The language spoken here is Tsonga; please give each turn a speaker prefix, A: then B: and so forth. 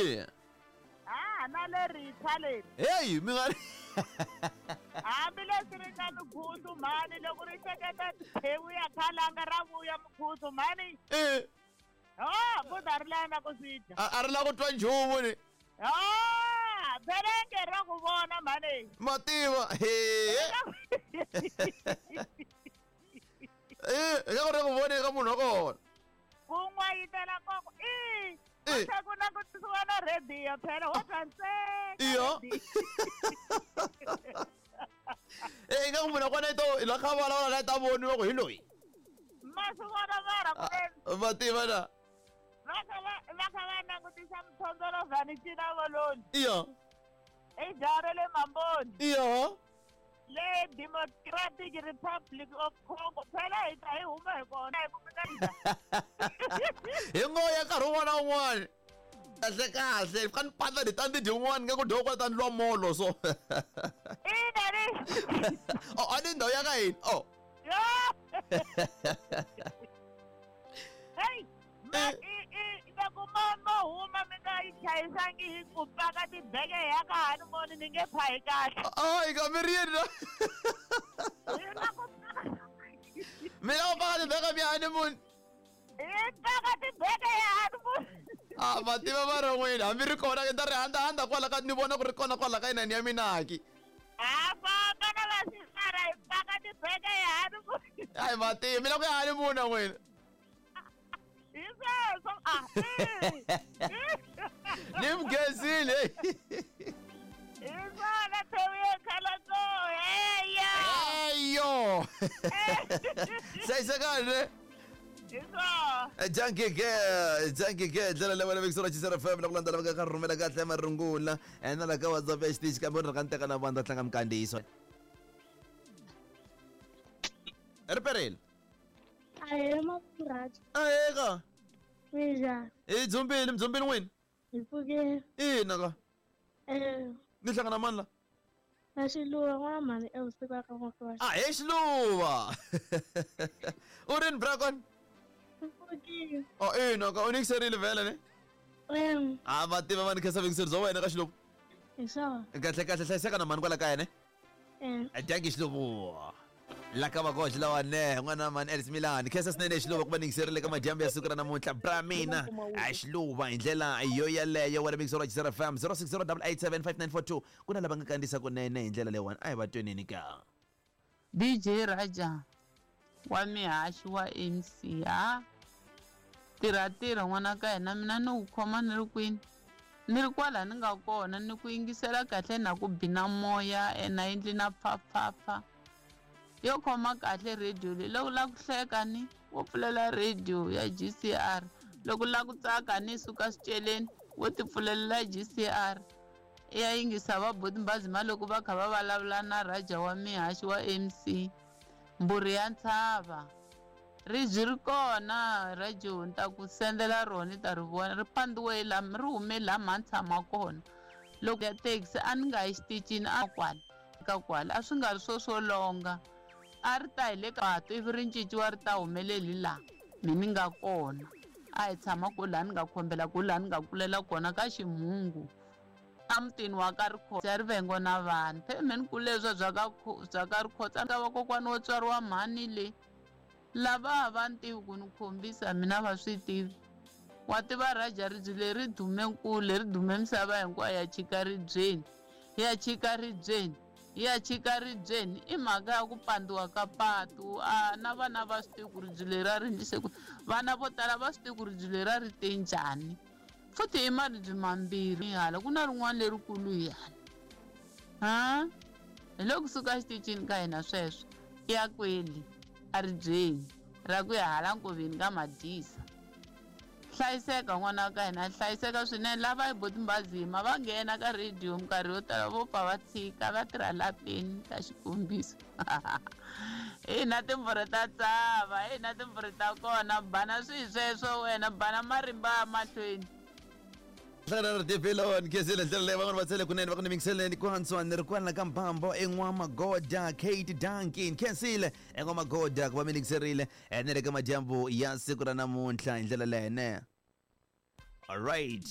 A: Eya.
B: Ha na le ritshwa leri.
A: Heyi mi nga ri
B: Hambileswi ri nga mukhuzu mhani loko ri hleketa thewu ya khalanga ra vuya mukhuzu mhani.
A: Eh,
B: Ho, buda ri lava na ku swi dya.
A: a ri lava ku twa nchumu ni.
B: Ho, phelenge ra ku vona mhani.
A: Mativa. He. Eh, nga ku ri ku vone ka munhu wa kona.
B: Ku n'wayitela koko i
A: Eh.
B: ku ku na ku tisiwa na radio phela wo twa ntsena.
A: Iyo. Eh, nga ku munhu wa kona i to i la kha vulavula na ta voniwa ku hi loyi.
B: Ma swi vona mara ku
A: Ah, Mativa na.
B: va kha va va kha va langutisa mthondolovhani cina voloni.
A: Iyo.
B: I jaha ra le Mamboni.
A: Iyo.
B: Le Democratic Republic of Congo phela hi ta hi huma hi kona hi ku mi nga
A: Hi ngoya nkarhi wun'wana na wun'wana. Kahle kahle, ka ni pandza ni ta ni dyi wun'wana nga ku dyiwa kwala ta ni lwa molo so.
B: ina ni
A: Oh, a ni ndhawu ya ka hina. Oh.
B: yo hey ma
A: Eh.
B: i i loko mo mo huma mi nga yi chayisangi hi ku paka tibeke ya ka hanimoni ni nge phahi kahle
A: Ay, ka mi ri yini na?
B: hi na ku paka
A: Mi lava ku paka tibeke mi honeymoon.
B: hi paka tibeke ya hanimoni
A: Ah, mativa va ri n'wina hambi ri kona ni ta ri handahanda kwala ka ni vona ku ri kona kwala ka inani ya mina ki.
B: ha famba na vasisara hi paka tibeke ya hanimoni
A: Ai mativa, mi lava ku ya honeymoon na n'wina.
B: hi sweswo ah
A: Ni mi khensile.
B: hi swona thewu yo khala ko heya
A: Eyo. Hlayisekani ne?
B: hi swona
A: Junkie Girl, Junkie Girl, ndlela leyi wena vekisela Chisera FM loko landzela va ka rhumela kahle marungula na la ka WhatsApp ya xitichi kambe ri ka ni teka na vanhu ta tlanga minkandziyiso. Ri perile.
C: Ahee Mapurasi,
A: Ahee
C: minjhani?
A: Hi dzumbile, mi dzumbile n'wina?
C: Hi pfukile.
A: Ina ka.
C: Eh,
A: Ni hlangana mani la?
C: na Xiluva n'wana mhani evusiku ka n'wakwasha.
A: Ah, he Xiluva. U rini Brakon?
C: Hi pfukile.
A: Oh, ina ka u nikiserile vhele ne?
C: Em,
A: Ah, va tiva va ni khensa vekiseri bya wena ka Xiluva.
C: hi swona.
A: Kahle kahle hlayiseka na mhani kwala kaya ne?
C: Em,
A: Dankie Xiluva. La ka vakoxi lawa ne n'wana mani Ellis Milan khensa swinene Xiluva ku va ningiserile ka madyambu ya siku ra namuntlha bra mina a Xiluva hi ndlela yo yaleyo wena mixero wa Chisera FM 0608875942 ku na lava nga kandziyisa kunene hi ndlela leyiwani a hi va tweneni ka
D: DJ Raja wa mihaxi wa MC ha tirha tirha n'wana ka hina mina ni ku khoma ni ri kwini ni ri kwala ni nga kona ni ku yingisela kahle na ku bina moya ena endli na pfapfapfa yo khoma kahle radio leyi loko la ku hleka ni wo pfulela radio ya GCR loko la ku tsaka ni suka swiceleni wo ti pfulelela GCR ya yingisa va boti mbazima loko va kha va vulavula na Raja wa mihaxi wa MC mbhuri ya ntshava ribyi ri kona radio ni ta ku sendela rona ni ta ri vona ri pandiwe la ri hume laha mha ni tshama kona loko ya taxi a ni nga yi xitichini a kwala ka kwala a swi nga ri swo swo longa a ri ta hi le ka patu ivi ri cinciwa ri ta humeleli laha mi ni nga kona a hi tshama ku laha ni nga khombela ku laha ni nga kulela kona ka ximhungu emutini wa ka Rikhotso ya rivengo na vanhu phela me ni kule leswiya bya ka bya ka Rikhotso ka vakokwana wo tswariwa mhani le lava a va ni tivi ku ni khombisa mina va swi tivi wa tiva Raja ribye leri dume kule ri dume misava hinkwayo ya chika ribyeni ya chika ribyeni ya chika ribyeni i mhaka ya ku pandziwa ka patu a na vana va swi tivi ku ribye leri a ri endlise ku vana vo tala va swi tivi ku ribye leri a ri te njhani futhi i maribye mambirhi hala ku na rin'wana lerikulu hi hala ha hi le kusuka exitichini ka hina sweswo i ya kweli a ribyeni ra ku ya hala nkoveni ka madisa hlayiseka n'wana wa ka hina hlayiseka swinene lava hi boti mbazima va nghena ka rediyo minkarhi yo tala vo pfa va tshika va tirha lapeni ta xikombiso hina timbhuri ta tsava hina timbhuri ta kona bana swihi sweswo wena bana marimba ya mahlweni
A: Hlangana na TV lawani khensile ndlela leyi van'wana va tsele kunene va ku ni mingiseleni ku hantswa ni ri kwala ka mbambo en'wamagoda Kate Duncan khensile en'wamagoda ku va mi ningiserile ni le ka madyambu ya siku ra namuntlha hi ndlela leyi ne. All right.